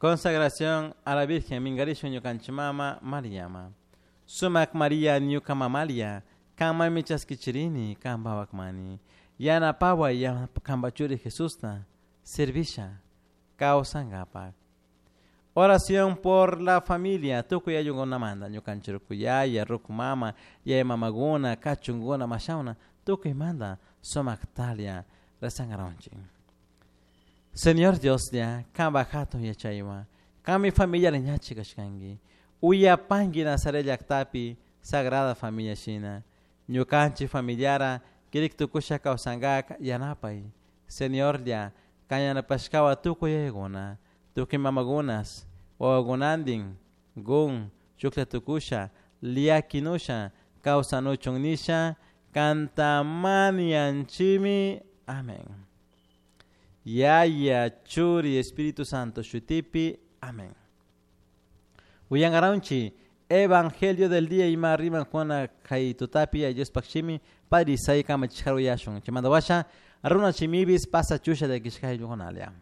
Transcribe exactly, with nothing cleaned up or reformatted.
Consagración a la Virgen mingarishun ñukanchik mama Mariama. Sumak Maria ñuka mamalia, kanmanmi chaskichirini kanpa wakmani. Yanapaway kanpa churi Jesusta servisha kawsankapak. Oración por la familia, tukuy ayllukunamanta ñukanchik ruku yaya, ruku mama, yaya mamakuna, kachunkuna, mashawna, tukuymanta sumaktalia rezankaranchik. Señor Dios ya, kanpak hatun yachaywan, kanmi familia ñachi kashkanki, uyapanki Nazaret llaktapi Sagrada Familia shina, ñukanchik familiara kirik tukusha kawsankak yanapay. Señor ya, kan yanapashkawan tukuy yayakuna, tukuy mamakunas, wawakunantin, gun, chuklla tukusha, llakinusha, kawsanuchun nisha, kantamanianchimi. Amén. Yaya, Churi, Espíritu Santo, shutipi. Amén. Uyangaranchi, Evangelio del día ima riman Juana kay tutapi Diospaj shimi Padre Isai kamachishkar uyashun. Chaymanta washa runa shimibis pasa chusha de kishkay yugonalia.